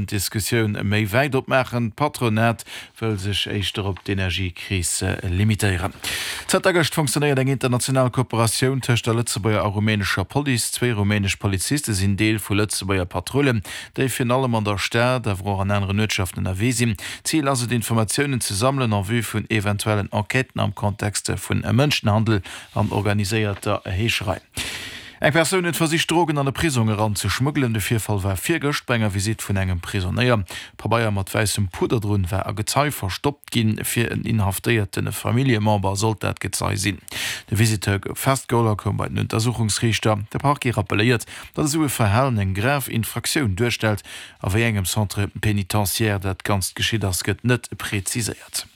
D'Diskussioun méi wäit opmaachen. D'Patronat wëll sech éischter op d'Energiekris limitéieren. Zënter gëscht funktionéiert eng international Kooperatioun tëscht der Lëtzebuerger a rumänescher Police. Zwéi rumänesch Poliziste sinn Deel vu Lëtzebuerger Patrullen, déi virun allem an der Stad, awer och an aneren Uertschaften ënnerwee sinn. Zil ass et, Informatiounen ze sammelen en vue vun eventuellen Enquêten am Kontext vun Mënschenhandel an organiséierter Heescherei. Eng Persoun huet versicht Drogen an e Prisong eran ze schmuggelen. De Virfall war virgëscht bei enger Visitt vun engem Prisonéier. Pabeier mat wäissem Pudder drun war a Gezei verstoppt ginn. Fir en inhaftéierte Familljemember sollt dat Gezei sinn. De Visiteur gouf festgeholl a koum bei den Untersuchungsriichter. De Parquet rappelléiert, datt esou e Verhalen eng grav Infraktioun duerstellt. A wéi engem Centre pénitentiaire dat Ganzt geschitt ass, gëtt net preziséiert.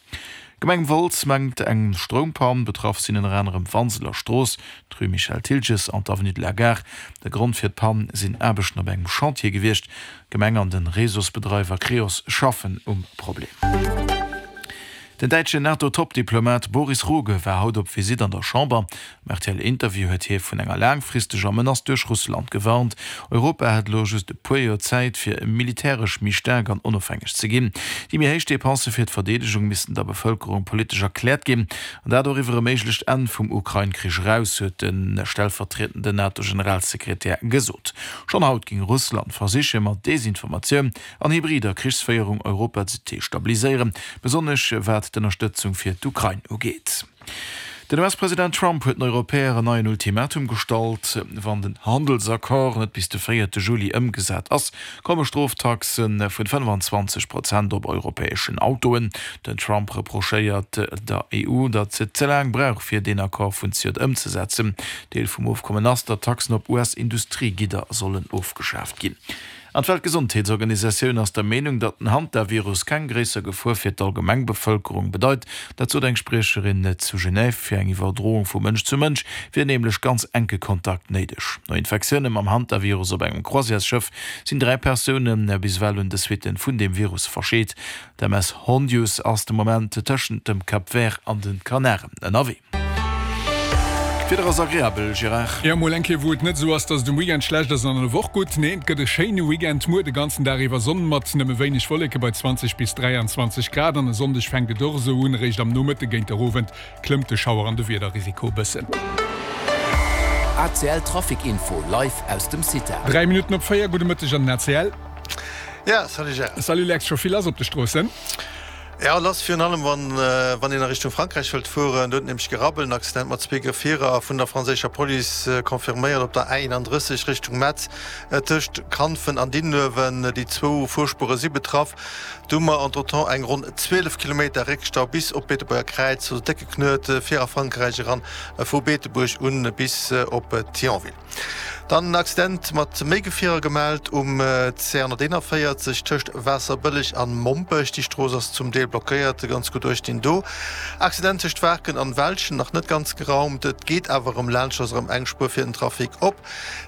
D'Gemeng Wolz mengt eng Stroumpann. Betraff sinn ënner anerem d'Wanseler Strooss, d'Rue Michel Thiltges an d'Avenue de la Gare. De Grond fir d'Pann sinn Aarbechten op engem Chantier gewiescht. D'Gemeng an de Réseausbedreiwer Creos schaffen um Problem. Den däitschen NATO-Top-Diplomat Boris Rogge war haut op Visitt an der Chamber. Am RTL-Interview huet hie vun enger laangfristeger Menace duerch Russland gewarnt. Europa hätt elo just e puer Joer Zäit, fir militäresch méi staark an onofhängeg ze ginn. Déi méi héich Depensë fir d'Verdeedegung missten der Bevëlkerung politesch erkläert ginn, an dat och iwwer e méiglecht Enn vum Ukrain-Krich eraus, huet de stellvertriedende NATO-Generalsekretär gesot. Schonn haut géing Russland versiche mat Desinformatioun an hybrider Krichsféierung Europa ze destabiliséieren, besonnesch wat d'Ënnerstëtzung fir d'Ukrain ugeet. Den US-President Trump huet den Europäer en neien Ultimatum gestallt. Wann den Handelsaccord net bis de véierte Juli ëmgesat ass, komme Stroftaxe vun 25 Prozent op europäeschen Autoen. Den Trump reprochéiert der EU, datt se ze laang brauch, fir deen Accord vun zejoert ëmzesetzen. Deel vum Ofkommen ass, datt Taxen op US-Industriegidder sollen ofgeschaaft ginn. An d'Weltgesondheetsorganisatioun ass der Meenung, datt den Hantavirus keng gréisser Gefor fir d'Allgemengbevëlkerung bedeit. Dat sot eng Spriecherin zu Genève. Fir eng Iwwerdroung vu Mënsch zu Mënsch wier nämlech ganz enke Kontakt néideg. No Infektioune mam Hantavirus op engem Croisièresschëff sinn 3 Persoune bis ewell un de Suitte vun deem Virus verscheet. D'MS Hondius ass de Moment tëschent dem Cap Vert an de Kanaren ënnerwee. D'Wieder ass agreabel, Gérard. Jo, mol eng Kéier wou et net esou ass, dass et um Weekend schlecht ass an an der Woch gutt. Nee, et gëtt e schéine Weekend muer de ganzen Dag iwwer Sonn mat nëmme wéineg Wolleke bei 20 bis 23 Grad. An e Sonndeg fänkt et och esou un, eréischt am Nomëtte géint der Owend klëmmt de Schauer an de Wiederrisiko e bëssen. ACL Trafic Info live aus dem CITA. 3 Minutten op 4, gudde Mëtteg an den ACL. Ja, salut Gérard. Salut Lex, scho vill lass op de Stroossen? Ja, lass, virun allem wann wann een a Richtung Frankräich wëllt fueren. Do huet nämlech gerabbelt, en Accident mat zwee Gefierer, vun der franséischer Police confirméiert, op der A31 Richtung Metz, tëscht Kanfen an Dinuewen. Déi zwou Fuerspuere si betraff. Do hu mer entretemps eng ronn 12 Kilometer Réckstau bis op d'Beetebuerger Kräiz, also décke Knuet fir a Frankräich eran, vu Beetebuerg un bis op Thionville. Dann en Accident mat méi Gefierer gemellt um CR 141 tëscht Waasserbëlleg an Mompech. Déi Strooss ass zum Deel blockéiert, ganz gutt uecht dinn do. Accident tëscht Waarken an Welschen, nach net ganz geraumt, et geet awer erëm laanscht, ass erëm eng Spuer fir den Trafic op.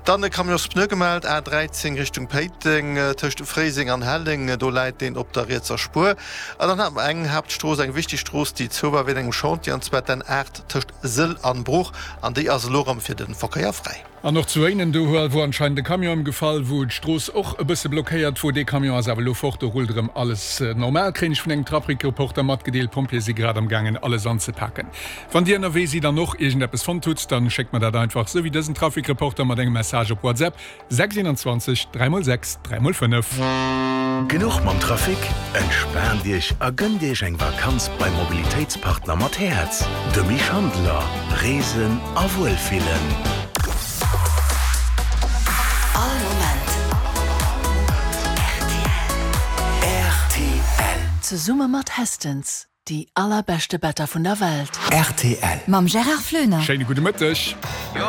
Dann e Camionspneu gemellt, A 13 Richtung Péiteng tëscht Fréiseng an Helleng, do läit deen op der rietser Spuer. An dann hate mer eng Haaptstrooss, eng wichteg Strooss, déi zou war wéint engem Chantier, an zwar d'N 8 tëscht Sëll an Bruch, an déi ass elo rëm fir de Verkéier fräi. An och zu Éinen, do wor anscheinend e Camion ëmgefall, wou d'Strooss och e bësse blockéiert wor. Dee Camion ass awer elo fort, do rullt erëm alles normal, kréien ech vun engem Trafic-Reporter matgedeelt. D'Pompjeeë si grad am gaangen alles anzepaken. Wann Dir ënnerwee sidd an och iergendeppes fonnt hutt, dann schéckt mer dat einfach, sou wéi dësen Trafic-Reporter mat engem Message op WhatsApp. 6 21 3 mol 6 3 mol 5. Genuch mam Trafic? Entspaant Iech a gënnt Iech eng Vakanz beim Mobilitéitspartner mat Häerz, dem Misch Handeler. Reesen a Wuelfillen. All Moment rtl. Rtl. Zesumme mat Hästens, déi allerbeschte Better vun der Welt. Rtl. Mam Gérard Floener. Schéine gudde Mëtteg.